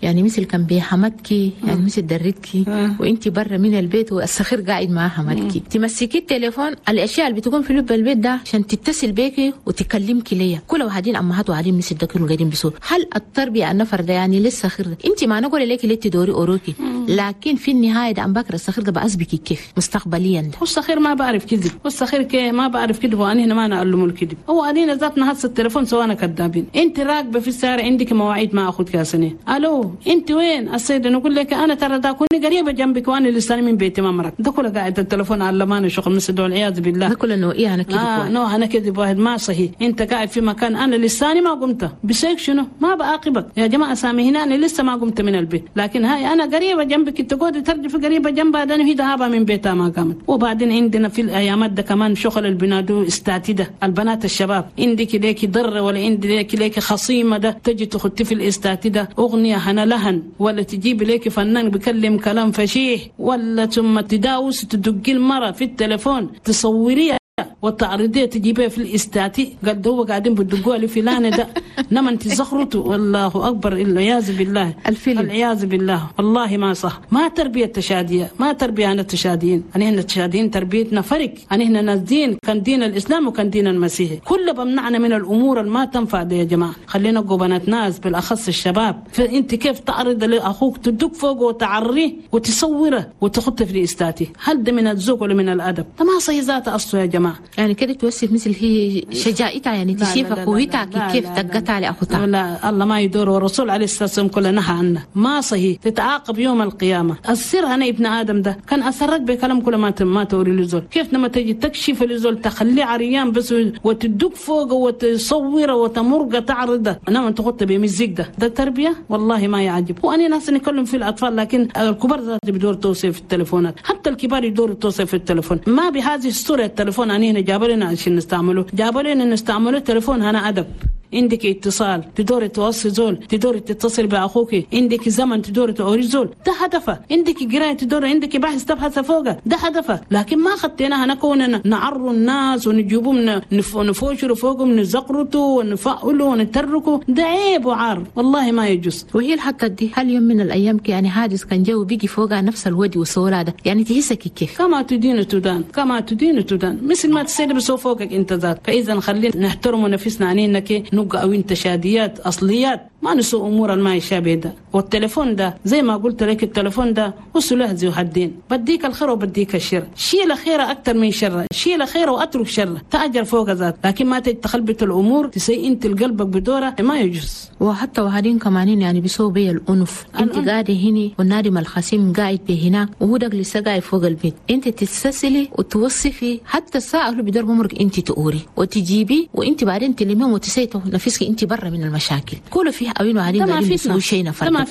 يعني مثل كان بحمدكي، يعني مثل درتكي وانت برا من البيت والصخير قاعد مع حمدكي، تمسكي التليفون الاشياء اللي بتكون في لب البيت ده عشان تتصل بيكي وتكلمكي ليا. كل واحدين امهات وعليم مثل ده كانوا قاعدين بيسوا. هل التربية النفر ده يعني لسه خير ده؟ انت ما نقول لك ليه تدوري اوروكي، لكن في النهاية ده ام بكر الصخير ده بأسبكي كيف مستقبليا ده؟ والصخير ما بعرف كذب، والصخير كي ما بعرف كذب، وانا هنا ما نعلمه الكذب. هو انا ذاتنا هسه التليفون سوانا كذابين. انت راكبه في السيارة عندك مواعيد مع اخوك يا سنة، الو انت وين السيد؟ نقول لك انا ترى دا كوني قريبه جنبك وانا لسه من بيتي ما مرق. ده كله قاعد التليفون علماني شغل مثل والعياذ بالله. ده كله انه ايه انا كذب واحد. نوع انا كذب واحد ما صحيح. انت قاعد في مكان انا لساني ما قمت بسيك شنو ما بعاقبك يا جماعة سامي هنا انا لسه ما قمت من البيت، لكن هاي انا قريبه جنبك تقعد ترجف قريبه جنبها ده هي ذهابها من بيتها ما قامت. وبعدين عندنا في الايامات ده كمان شغل البنادو استاتي ده البنات الشباب، عندك ليك ضره ولا عندك ليك خصيمه ده تجي تخطي في الاستاتي ده اغنية هنا لهن، ولا تجيب ليك فنان بيكلم كلام فشيح، ولا ثم تداوس تدقي المرة في التليفون تصوريها والتعريضية تجيبها في الاستاتي. قال هو قاعدين بدقوها لفلان ده نما انت زخرته. والله اكبر، العياذ بالله، الفيلم العياذ بالله. والله ما صح، ما تربيه التشاديه، ما تربيه انا التشاديين. انا هنا التشاديين تربيتنا فرق، انا هنا ناس دين، كان دين الاسلام وكان دين المسيحي، كله بمنعنا من الامور اللي ما تنفع دي يا جماعة. خلينا نبقوا بنات ناس بالاخص الشباب. فانت كيف تعرض لاخوك تدق فوقه وتعريه وتصوره وتحطه في الاستاتي؟ هل ده من الذوق ولا من الادب؟ ده ما صحيح ذاته اصله يا جماعة. يعني كده توصف مثل هي شجاعتها، يعني تشيف قوتها كيف تقطع لاخوتها. لا الله ما يدور، والرسول عليه الصلاة والسلام كله نهى عنه، ما صحيح تتعاقب يوم القيامة. السر انا ابن ادم ده كان اسرك بكلام كل ما توري لزول. كيف لما تجي تكشف لزول تخليه عريان بس وتدق فوقه وتصوره وتمرقه تعرضه، انا انت تحط بمزيك ده تربيه؟ والله ما يعجب. وانا ناس نتكلم في الاطفال، لكن الكبار ذات بدور توصيف في التليفونات، حتى الكبار يدوروا توصيف في التليفون. ما بهذه الصورة التليفون أنا هنا جاب لنا عشان نستعمله، جاب لنا نستعمله التليفون هنا أدب. عندك اتصال تدوري توصي زول، تدوري تتصل باخوك، عندك زمن تدوري توري زول، ده هدفه. عندك قرايه تدوري، عندك بحث تبحث فوقه، ده هدفه. لكن ما خديناها نكون نعروا الناس ونجيبهم نفوشروا فوقهم، نزقرتوا ونفعلوا ونتركوا، ده عيب وعار والله ما يجوز. وهي الحتة دي هل يوم من الايام يعني حادث كان جو بيجي فوقها نفس الودي والصورة ده، يعني تحسك كيف؟ كما تدين تدان، كما تدين تدان، مثل ما تسير بسو فوقك انت ذات. فاذا خلينا نحترم نفسنا عنينا كي نبقى أو تشاديات أصليات، ما نسوء أمور ما يشابه ده. والتليفون ده زي ما قلت لك، التليفون ده وسلاح ذو حدين، بديك الخير وبديك الشر. شيل خير أكثر من شر، شيل خير وأترك شر، تأجر فوق ذات. لكن ما تخلبت الأمور تسيء أنت القلبك بدوره، ما يجوز. وحتى وهادين كمانين يعني بيسووا بي الأنف. أنت قاعدة هنا والنادم الخصيم قاعد بهنا وهو ده لسه قاعد فوق البيت، أنت تتسلسلي وتوصفي حتى الساعة اللي بدور عمرك أنت تقوري وتجيبي، وأنت بعدين تلميهم وتسيتوا نفسك أنت برا من المشاكل. كله فيه أوين وهادين قاعدين بيسووا شيء نفر،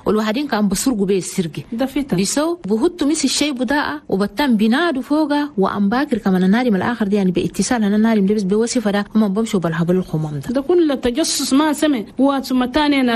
والوهادين كان بسرقوا بيه السرقة ده فتن، بيسووا بهتوا مثل الشيء بداء وبتم بينادوا فوقه. وأم باكر كمان النادم الآخر دي يعني باتصال أنا النادم لبس بوصفة ده هم بمشوا بالهبل الخمام ده. ده كله تجسس ما سمع. وثم ثانيا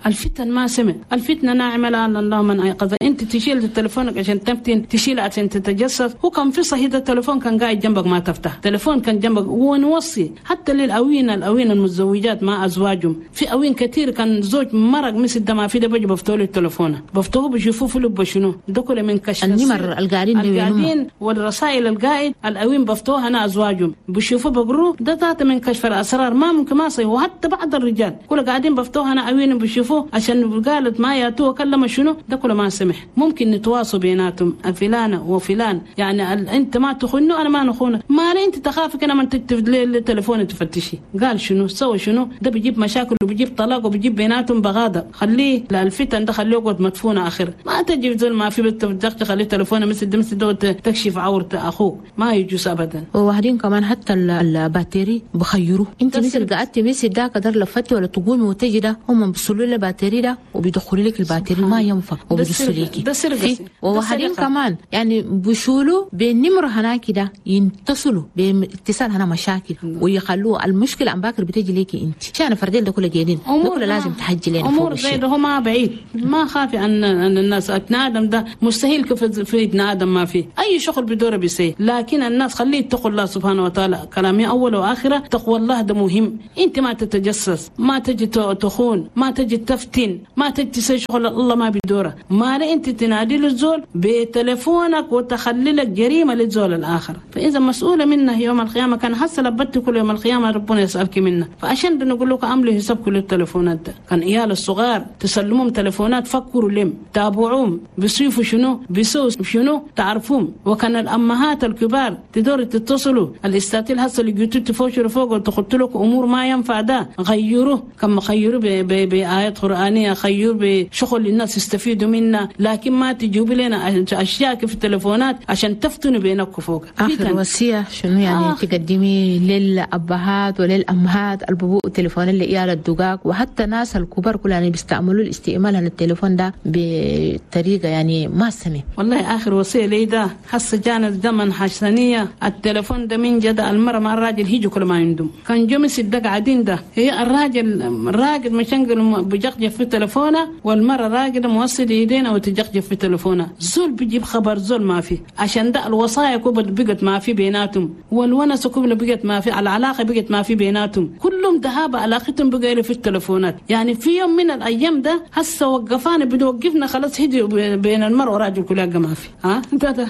الفتن ما سمع. الفتنة ناعمة لعل الله من أيقظها. أنت تشيل تليفونك عشان تفتن، تشيل عشان تتجسس. هو كان في صحيح التليفون كان قاعد جنبك ما تفتح، تليفون كان جنبك. ونوصي حتى للأوين، الأوين المتزوجات مع أزواجهم، في أوين كثير كان زوج مرق مثل ده ما في ده بيجي بفتحوا له التليفون، بفتحوه بيشوفوه في لبه شنو ده كله من كشف النمر القاعدين والرسائل القاعد الأوين بفتحوها أنا أزواجهم بيشوفوه بقروه ده ذات من كشف الأسرار ما ممكن ما صحيح. وحتى بعض الرجال كله قاعدين بفتحوها أنا أوين بيشوفوه عشان قالت ما ياتوه كلمة شنو ده كله ما سمح. ممكن نتواصوا بيناتهم فلانة وفلان، يعني أنت ما تخونه أنا ما نخونه، ما لي أنت تخافك أنا من تكتب التليفون تفتشي قال شنو سوى شنو، ده بيجيب مشاكل وبيجيب طلاق وبيجيب بيناتهم بغاضة. خليه الفتن ده خليه يقعد مدفون آخر، ما تجي زول ما في بتدخل خليه تليفونه مثل ده تكشف عورة أخوك، ما يجوز أبدا. وواحدين كمان حتى ال batterie بخيروه، أنت مثل قعدتي مثل ده قدر لفتي ولا تقومي وتجي ده هم بيصلوا لي ال batterie ده وبيدخلوا لك ال batterie ما ينفع وبيدسوا لك ده سرقة. وواحدين كمان يعني بيشولوا بالنمرة هناك ده ينتصلوا باتصال هنا مشاكل ويخلوه المشكلة أم باكر بتجي لك لك انت عشان فردين ده كله جايين ده كله لازم تحجي لنا امور زي ده هو ما بعيد، ما خافي ان الناس ابن ادم ده مستحيل كيف في ابن ادم ما فيه اي شغل بدوره بيسي، لكن الناس خليه يتقوا الله سبحانه وتعالى. كلامي اول واخره تقوى الله ده مهم. انت ما تتجسس، ما تجي تخون، ما تجي تفتن، ما تجي تسوي شغل الله ما بدوره. ما لا انت تنادي للزول بتليفونك وتخلي لك جريمة للزول الاخر، فاذا مسؤولة منه يوم القيامة. كان حصل لبت كل يوم القيامة ربنا يسالك منه. فعشان بنقول لك عملوا حساب كل التليفونات ده. كان عيال الصغار تسلمهم تليفونات، فكروا لهم، تابعوهم، بيصيفوا شنو، بيسووا شنو، تعرفوهم. وكان الامهات الكبار تدور تتصلوا الاستاتيل هسه اللي جيتوا تفوشوا فوق وتخطوا لكم امور ما ينفع ده، غيروه. كما خيروه بآيات قرآنية، خيروه بشغل الناس يستفيدوا منه، لكن ما تجيبوا لنا اشياء في التليفونات عشان تفتنوا بينكم فوق. اخر وصية شنو يعني تقدمي للابهات وللامهات الببوء التليفون اللي عيال الدقاق وحتى ناس الكبار كلها يعني بيستعملوا الاستعمال عن التليفون ده بطريقة يعني ما سمي؟ والله اخر وصية لي ده هسه جانا الزمن حسنيه التليفون ده من جد المرة مع الراجل هيجوا كل ما عندهم كان جمس الدق عادين ده، هي الراجل راقد مشنقل بجقجف في تليفونه، والمرة راقده موصل ايدينا وتجقجف في تليفونه. زول بيجيب خبر زول ما في، عشان ده الوصايا كبل بقت ما في بيناتهم، والونس كبل بقت ما في، العلاقة بقت ما في بيناتهم، كلهم ذهاب علاقتهم بقى في التليفونات. يعني في يوم من الايام ده هسه وقفانا بنوقفنا خلاص هدي بين المرء والراجل كلها ما في. ها ده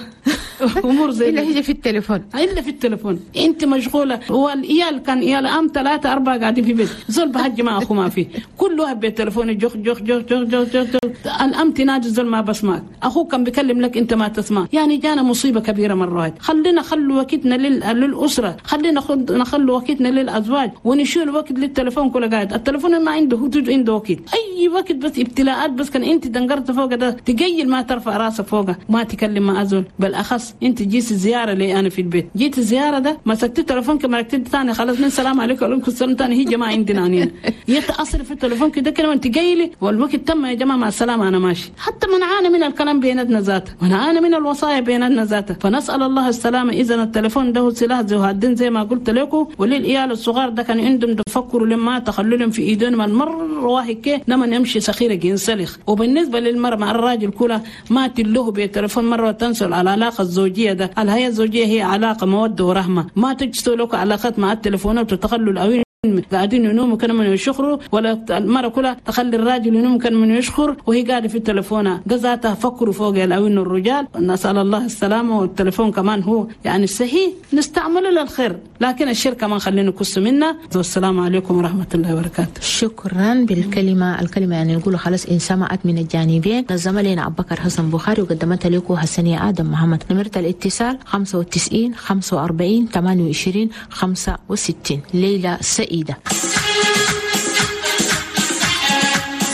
امور زي الا هي في التليفون، الا في التليفون انت مشغولة. والعيال كان عيال ام 3 4 قاعدين في بيت زول بهج مع اخو ما في، كل واحد بالتليفون جخ جخ جخ جخ جخ جخ. الام تنادي زول ما بسمعك، اخوك كان بيكلم لك انت ما تسمع. يعني جانا مصيبة كبيرة مرة واحدة. خلينا خلوا وقتنا للاسرة، خلينا نخلوا وقتنا للازواج، ونشيل وقت للتليفون كله قاعد. التليفون ما عنده حدود، عنده وقت اي وقت، بس ابتلاءات بس. كان انت دنقرت فوق ده تقيل ما ترفع راسك فوقه، ما تكلم مع ازول. بالاخص انت جيت زيارة لي انا في البيت، جيت الزيارة ده مسكت التليفون كما ركبت ثاني خلاص من سلام عليكم وعليكم السلام ثاني هي جماعة عندنا هنا يتاثر في التليفون كده كده وانت جاي والوقت تم يا جماعة مع السلامة انا ماشي. حتى منعانا من الكلام بيناتنا ذاته، منعانا من الوصايا بيناتنا ذاته. فنسال الله السلامة. اذا التليفون ده سلاح ذو حدين زي ما قلت لكم. وللعيال الصغار ده كان عندهم تفكروا لما تخللهم في ايدهم المر واحد كي لما يمشي سخيره ينسلخ. وبالنسبة للمرأة مع الراجل كلها ما تلوه بالتليفون مرة وتنسوا العلاقة الزوجية ده. الحياة الزوجية هي علاقة موده ورحمة، ما تجسوا لك علاقات مع التليفونات وتخلوا الاوين قاعدين ينوموا كان من يشخروا، ولا المرأة كلها تخلي الراجل ينوم كان من يشخر وهي قاعدة في التليفون ده ذاتها. فكروا فوق الأوين الرجال، نسأل الله السلامة. والتليفون كمان هو يعني الصحيح نستعمله للخير، لكن الشر كمان خلينا نقص منه. والسلام عليكم ورحمة الله وبركاته. شكرا بالكلمة، الكلمة يعني نقول خلاص إن سمعت من الجانبين. نظم لنا أبو بكر حسن بخاري وقدمتها لكم حسنية آدم محمد. نمرة الاتصال 95 45 28 65. ليلى سعيدة.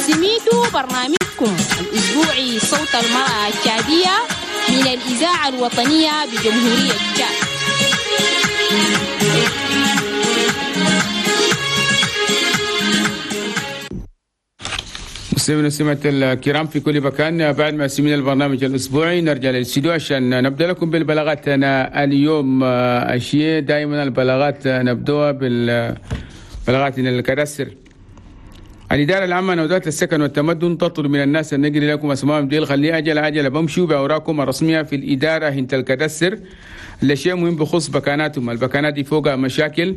سميتوا برنامجكم الأسبوعي صوت المرأة التشادية من الإذاعة الوطنية بجمهورية تشاد. مستمعينا ومستمعات الكرام في كل مكان، بعد ما سمعنا البرنامج الأسبوعي نرجع للاستديو عشان نبدأ لكم بالبلاغات. أنا اليوم أشياء دائما البلاغات نبدأها بالبلاغات الكدستر. الإدارة العامة لوزارة السكن والتمدن تطلب من الناس أن نجري لكم أسمائهم ديل خلي أجل أجل بمشوا بأوراقكم الرسمية في الإدارة هنت الكدستر. الشيء مهم بخصوص بكاناتهم، البكانات دي فوقها مشاكل.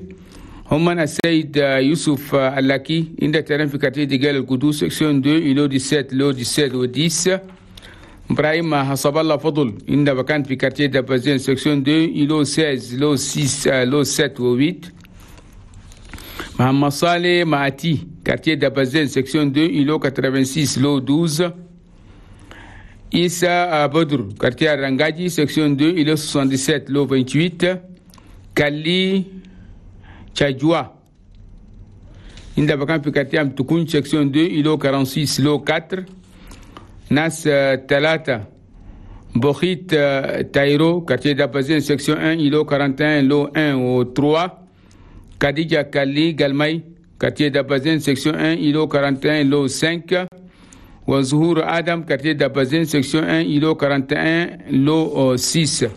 هم السيد يوسف اللاكي عند terrain في quartier ديجال القدوس section 2 îlot 17 lot 17 و 10. ابراهيم حسب الله فضل عند بكان في quartier دبازين section 2 îlot 16 lot 6 lot 7 و 8. محمد صالح معتي quartier دبازين section 2 îlot 86 lot 12. إيسا بدر quartier رنجاجي section 2 îlot 77 lot 28. كالي Tchadjoua, عند بكان في quartier Amtukun section 2 îlot 46 lot 4. ناس 3 بوخيت تايرو quartier دابازين section 1 îlot 41 lot 1 و 3. Khadija Kali Galmay quartier دابازين section 1 îlot 41 lot 5. وزهور آدم quartier دابازين section 1 îlot 41 lot 6.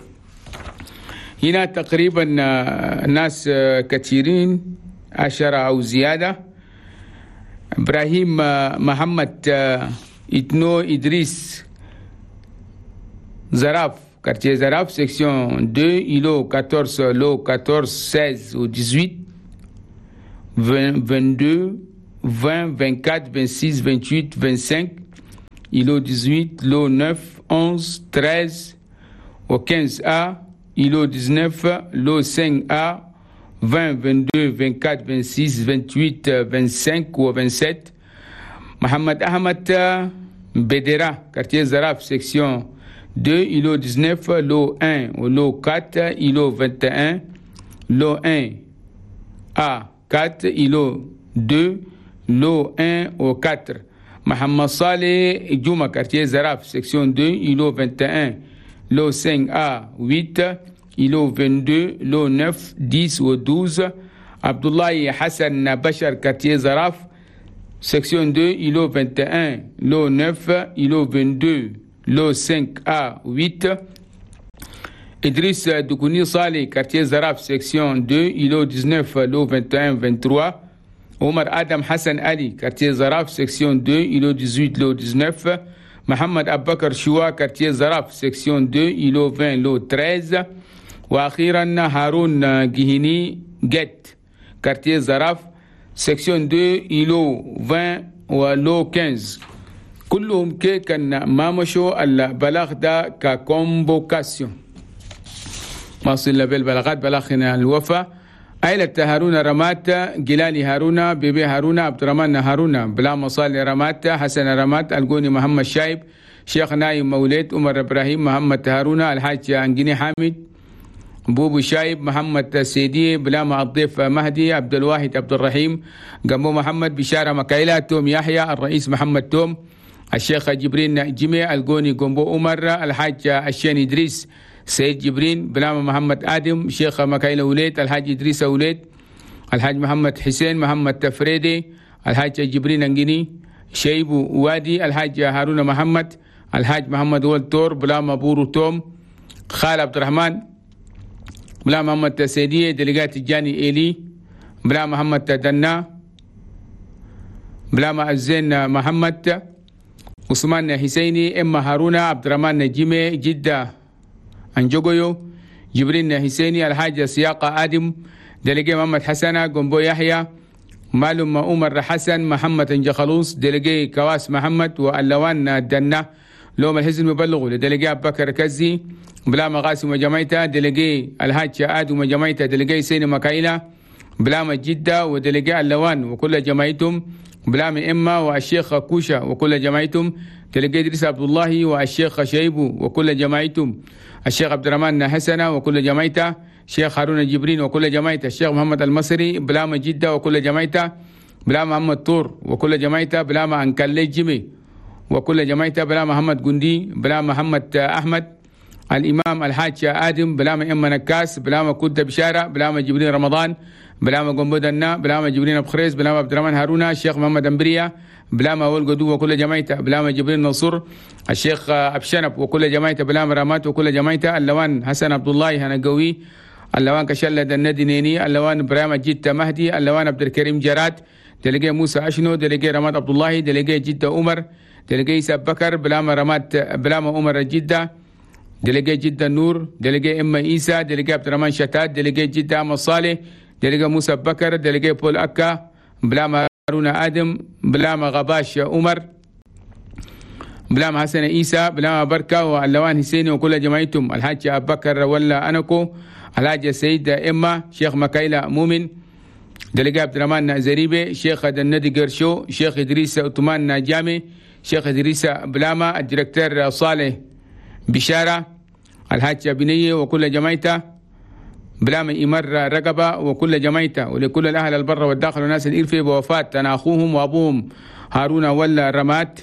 هنا تقريبا ناس كثيرين 10 أو زيادة. إبراهيم محمد إتنو إدريس Zaraf, quartier Zaraf, section 2, îlot 14, lot 14, 16 ou 18, 20, 22, 20, 24, 26, 28, 25, îlot 18, lot 9, 11, 13 au 15A, îlot 19, lot 5A, 20, 22, 24, 26, 28, 25 ou 27. Mohamed Ahmed Bedera, quartier Zaraf, section 2, îlot 19, lot 1 au lot 4, îlot 21, lot 1 A 4, îlot 2, lot 1 au 4. Mohamed Saleh Djouma, quartier Zaraf, section 2, îlot 21, lot 5A 8, îlot 22, lot 9, 10 ou 12. Abdoulaye Hassan Bachar, quartier Zaraf, section 2, îlot 21, lot 9, îlot 22, lot 5A 8. Idriss Doukouni Saleh, quartier Zaraf, section 2, îlot 19, lot 21, 23. Omar Adam Hassan Ali, quartier Zaraf, section 2, îlot 18, lot 19. Mohamed Abakar Choua, quartier Zaraf, section 2, îlot 20, lot 13. وأخيرا هارون جهيني جت, quartier Zaraf, section 2, îlot 20 و lot 15. كلهم كي كان ما مشوا البلاغ ده ك convocation. واصل بالبلاغات بلاغنا الوفا. عائلة هارون رمات، جلالي هارون، بيبي هارون، عبد الرحمن هارون، بلا مصالي رمات، حسن رمات، الجوني محمد شايب، شيخ نايم مولد، عمر ابراهيم، محمد هارون، الحاج انجيني حامد، بوبو شايب، محمد سيدي، بلاما الضيف مهدي، عبد الواحد عبد الرحيم، جنبو محمد بشارة مكايلة، توم يحيى، الرئيس محمد توم، الشيخ جبرين جميع، الجوني جنبو عمر، الحاج الشين إدريس سيد جبرين، بلاما محمد آدم، شيخ مكايلة وليد، الحاج إدريس وليد، الحاج محمد حسين، محمد تفريدي، الحاج جبرين انجيني، شيبو وادي، الحاج هارون محمد، الحاج محمد ولد تور، بلاما بورو توم، خال عبد الرحمن، بلا محمد سيدي، délégué الجاني إيلي، بلا محمد دنا، بلا الزين محمد، عثمان حسيني، إما هارون، عبد الرحمن جيمي، جدة أنجوغيو، جبرين حسيني، الحاج سياقة آدم، délégué محمد حسن، جنبو يحيى، معلوم عمر حسن، محمد انجخلوص، délégué كواس محمد، واللوان دنا. لوم الحزن مبلغوا ل délégué أبو بكر كزي، بلا مقاسم وجمايتا، délégué الحاج آدم وجمايتا، délégué سيني مكايلة، بلا جدة و délégué اللوان وكل جماعتهم، بلا إما والشيخ كوشا وكل جماعتهم، délégué إدريس عبد الله والشيخ شيبو وكل جماعتهم، الشيخ عبد الرحمن حسنة وكل جماعته، الشيخ هارون جبرين وكل جماعته، الشيخ محمد المصري بلا جدة وكل جماعته، بلا محمد طور وكل جماعته، بلا أنكلي جيمي وكل جماعته، بلا محمد جندي، بلا محمد أحمد، الإمام الحاج آدم، بلا إما نكاس، بلا كنت بشارة، بلا جبرين رمضان، بلا قنبودنا، بلا جبرين أبو خريز، بلا عبد الرحمن هارون، الشيخ محمد أمبريا، بلا أول قدو وكل جماعته، بلا جبرين نصر، الشيخ أبشنب وكل جماعته، بلا رامات وكل جماعته، اللوان حسن عبد الله هنقوي، اللوان كشلة الندي نيني، اللوان إبراهيم جدة مهدي، اللوان عبد الكريم جراد، délégué موسى أشنو، délégué رماد عبد الله، délégué جدة عمر، délégué إيسا بكر، بلا رماد، بلا عمر جدة، délégué جدة نور، délégué إما إيسا، délégué عبد الرحمن شتات، délégué جدة أحمد صالح، délégué موسى بكر، délégué بول أكا، بلا هارون آدم، بلا غباش عمر، بلا حسن إيسا، بلا بركة واللوان حسيني وكل جماعتهم، الحاج أبو بكر ولا أنكو، الحاج سيد إما، شيخ مكايلة مؤمن، délégué عبد الرحمن زريبي، شيخ الندي قرشو، شيخ إدريس عثمان جامي، شيخ إدريس بلاما، ال directeur صالح بشارة، الحاج بنية وكل جماعته، بلاما إمر رقبة وكل جماعته، ولكل الأهل البر والداخل والناس الإرفي بوفاة أنا أخوهم وأبوهم هارون ولا رمات،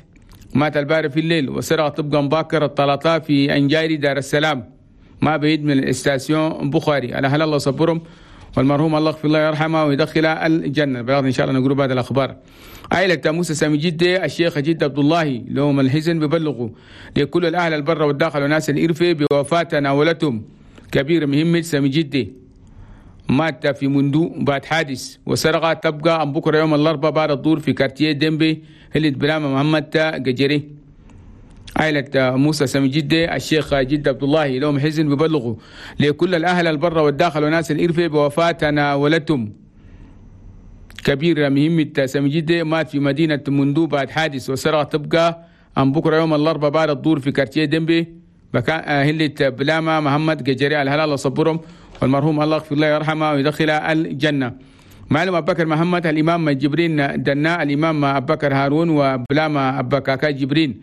مات الباري في الليل وسرق طبقا باكر الطلاطا في أنجاري دار السلام ما بعيد من ال station بخاري. على هل الله صبرهم والمرحوم الله يغفر الله يرحمه ويدخل الجنة. بلغنا إن شاء الله نقول بعد الأخبار. عائلة موسى سامي جدة، الشيخ جدة عبد الله لهم الحزن ببلغوا لكل الأهل البر والداخل والناس الإرفي بوفاة ناولتهم كبير مهمة سامي جدة مات في مندو بعد حادث وسرقة تبقى أم بكرة يوم الأربعاء بعد الظهر في كارتيه ديمبي هلت بلامة محمد قجري. عائلة موسى سامي جدة الشيخ جد عبد الله لهم حزن ببلغوا لكل الأهل البر والداخل وناس الإرفة بوفاة أنا ولدتم كبير مهمة سامي جدة مات في مدينة مندو بعد حادث وسرقة تبقى أم بكرة يوم الأربعاء بعد الظهر في كارتيه ديمبي بكان هلت بلامة محمد قجري. الهلال الله صبرهم والمرحوم الله يغفر له ويرحمه ويدخله الجنة. معلم أبو بكر محمد الإمام جبرين دنا الإمام أبو بكر هارون وبلامة أبو كاكا جبرين.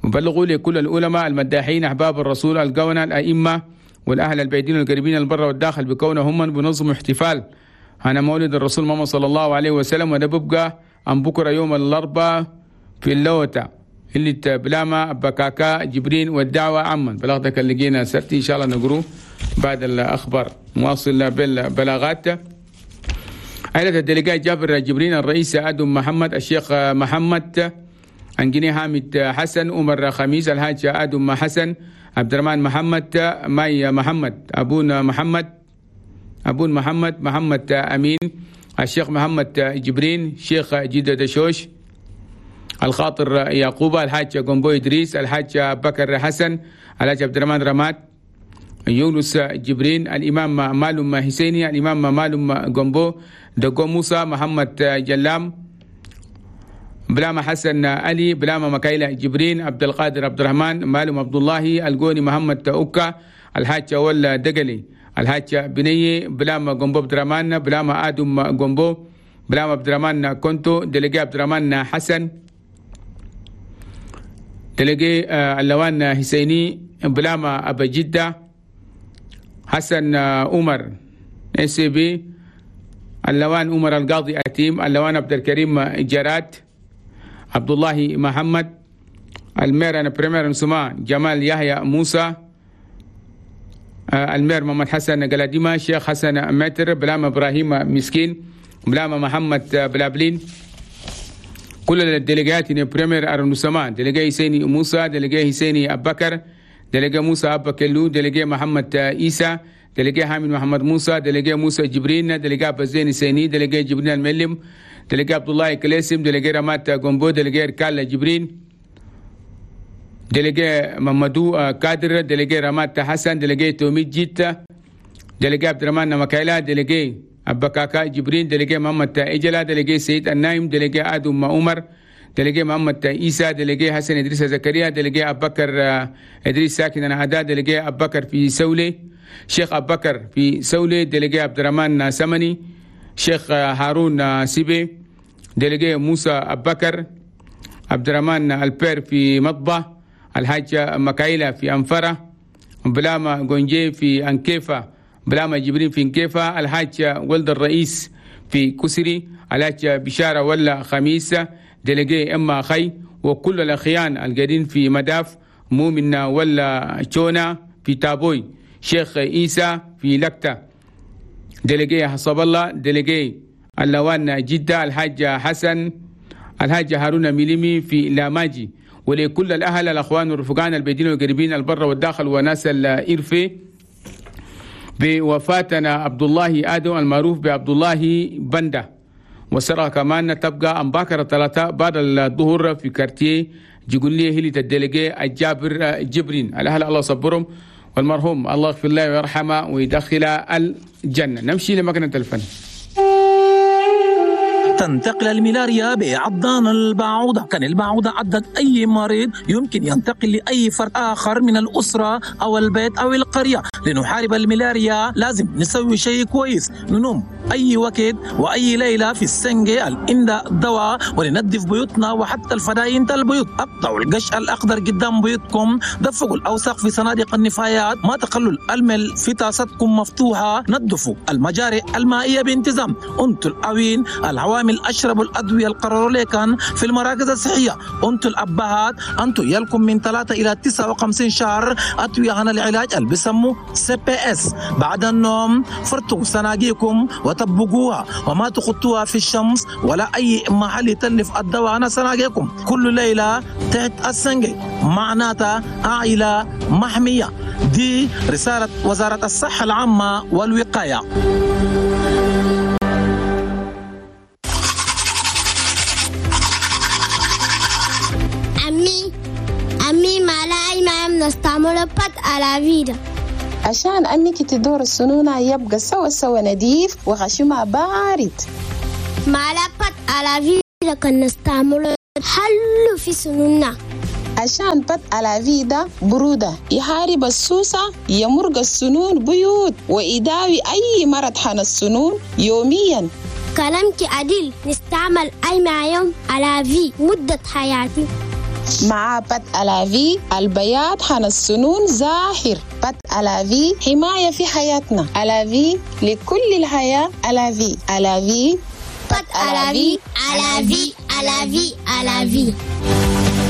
بلغوا لكل العلماء المداحين أحباب الرسول القونا الأئمة والأهل البعيدين والقريبين البر والداخل بكونهم من بنظم احتفال أنا مولد الرسول محمد صلى الله عليه وسلم، وده ببقى أم بكرة يوم الأربعاء في اللوتة اللي بلامة بكاكا جبرين والدعوة عما. بلغتك اللي جينا سرتي إن شاء الله نقرو بعد الأخبار. مواصل بالبلاغات. عائلة الدلقاء جابر جبرين الرئيس أدم محمد الشيخ محمد أنجني حامد حسن عمر خميس الحاج أدم حسن عبد الرحمن محمد ماي محمد أبونا محمد أبون محمد محمد أمين الشيخ محمد جبرين شيخ جدة دشوش الخاطر يعقوب الحاج قنبو إدريس الحاج بكر حسن الحاج عبد الرحمن رماد يونس جبرين الإمام مالوم حسيني الإمام مالوم قنبو دقو موسى محمد جلام بلامة حسن علي بلامة مكايلة جبرين عبد القادر عبد الرحمن مالوم عبد الله القوني محمد أوكا الحاج ولا دقلي الحاج بني بلامة قنبو عبد الرحمن بلامة آدم قنبو بلامة عبد الرحمن كونتو دلقي عبد الرحمن حسن دلقي اللوان حسيني بلامة أبا جدة حسن عمر اس بي اللوان عمر القاضي أتيم اللوان عبد الكريم جراد عبد الله محمد المير أنا بريمير نسمع جمال يحيى موسى المير محمد حسن قلاديما شيخ حسن متر بلامة إبراهيم مسكين بلامة محمد بلابلين. كل الدلقات بريمير أرنسما دلقاء حسيني موسى دلقاء حسيني أبو بكر دلقاء موسى أبا كلو دلقاء محمد إيسى دلقاء حامد محمد موسى دلقاء موسى جبرين دلقاء بزين سيني دلقاء جبرين الملم دلقاء عبد الله كلاسم دلقاء رمات قنبو دلقاء ركال جبرين دلقاء محمدو كادر دلقاء رمات حسن دلقاء توميد جيتا دلقاء عبد الرحمن مكايلا دلقاء أبا كاكا جبرين دلقاء محمد إجلا دلقاء سيد النايم دلقاء آدم عمر دلقاء محمد إيسى دلقاء حسن إدريس زكريا دلقاء أبو بكر إدريس ساكن أنا دلقاء أبو بكر في سولي شيخ أبو بكر في سولي دلقاء عبد الرحمن سمني شيخ هارون سيبي دلقاء موسى أبو بكر عبد الرحمن البير في مطبة الحاج مكايلة في أنفرة بلامة جونجي في أنكيفة بلامة جبرين في أنكيفة الحاج ولد الرئيس في كسري الحاج بشارة ولا خميس دلقاء إما خي وكل الأخيان القاعدين في مداف مؤمن ولا شونا في تابوي شيخ إيسى في لكتة دلقاء حسب الله دلقاء اللوان جدة الحاج حسن الحاج هارون ميليمي في لاماجي. ولكل الأهل الأخوان والرفقان البيدين والقريبين البر والداخل وناس الإرفي بوفاتنا عبد الله آدم المعروف بعبد الله بندة وسرقة كمان تبقى أم باكر الثلاثاء بعد الظهر في كارتيه جيقولي هلي الدلقاء الجابر جبرين. الأهل الله صبرهم والمرحوم الله يغفر له ويرحمه ويدخل الجنة. نمشي لمكنة الفن. تنتقل الملاريا بعضان البعوضة. كان البعوضة عضت أي مريض يمكن ينتقل لأي فرد آخر من الأسرة أو البيت أو القرية. لنحارب الملاريا لازم نسوي شيء كويس، ننوم أي وقت وأي ليلة في السنجة الإندا الدواء، ولننظف بيوتنا وحتى الفداين البيوت. أقطعوا القش الأخضر قدام بيوتكم، دفقوا الأوساخ في صناديق النفايات، ما تخلوا المل في طاستكم مفتوحة، نظفوا المجاري المائية بانتظام، أنتوا الأوين العوامل أشربوا الأدوية القرروا كان في المراكز الصحية، أنتوا الأبهات أنتوا يلكم من 3 إلى 59 شهر أدوية عن العلاج اللي بيسموه CPS. بعد النوم فرتوا صناديقكم وطبقوها وما تخطوها في الشمس ولا أي محل يتلف الدواء عن صناديقكم. كل ليلة تحت السنجي معناتها عائلة محمية. دي رسالة وزارة الصحة العامة والوقاية. يوم نستعمل pâte à la vie ده. عشان أنك تدور السنونة يبقى سوا سوا نظيف وخشمها بارد. مع la pâte à la vie ده كان نستعمله حلو في سنوننا. عشان pâte à la vie ده برودة يحارب السوسة، يمرق السنون بيوت، ويداوي أي مرض حن السنون يوميا. كلامك عديل، نستعمل أي مع يوم à la vie مدة حياتي. مع pâte à la vie البياض حن السنون زاهر. pâte à la vie حماية في حياتنا. à la vie لكل الحياة. à la vie، à la vie، pâte à la vie، à la vie، à la vie، à la vie.